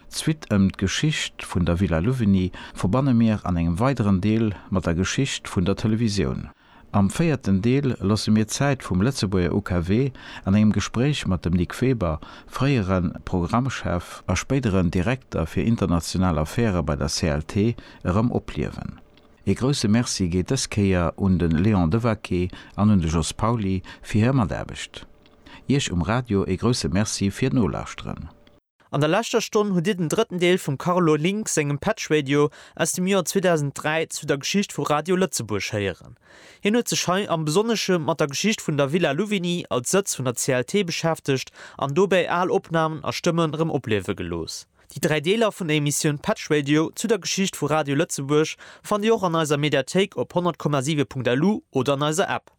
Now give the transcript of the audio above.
D'Suite ëm d'Geschicht vun der Villa Louvigny verbanne mir an engem weideren Deel mat der Geschicht vun der Televisioun. Am véierten Deel loosse mir d'Zäit vum Lëtzebuerger UKW an engem Gespréich mat dem Nic Weber, fréiere Programmchef a spéideren Direkter fir international Affäre bei der CLT, erëm opliewen. Ee grousse Merci geet dës Kéier un de Léon Devaquet an un de Jos Pauly fir hir Mataarbecht. Iech um Radio ee grousse Merci fir d'Nolauschteren. An der leschter Stonn hutt Dir den drëtten Deel vum Carlo Link sengem Patch Radio aus dem Joer 2003 zu der Geschicht vu Radio Lëtzebuerg héieren. Hien huet sech hei am Besonnesche mat der Geschicht vun der Villa Louvigny als Sëtz vun der CLT beschäftegt an dobäi al Opnamen a Stëmmen erëm opliewe gelooss. Déi 3 Deeler vun der Emissioun Patch Radio zu der Geschicht vu Radio Lëtzebuerg fannt Dir och an eiser Mediathéik op 100,7.lu oder an eiser App.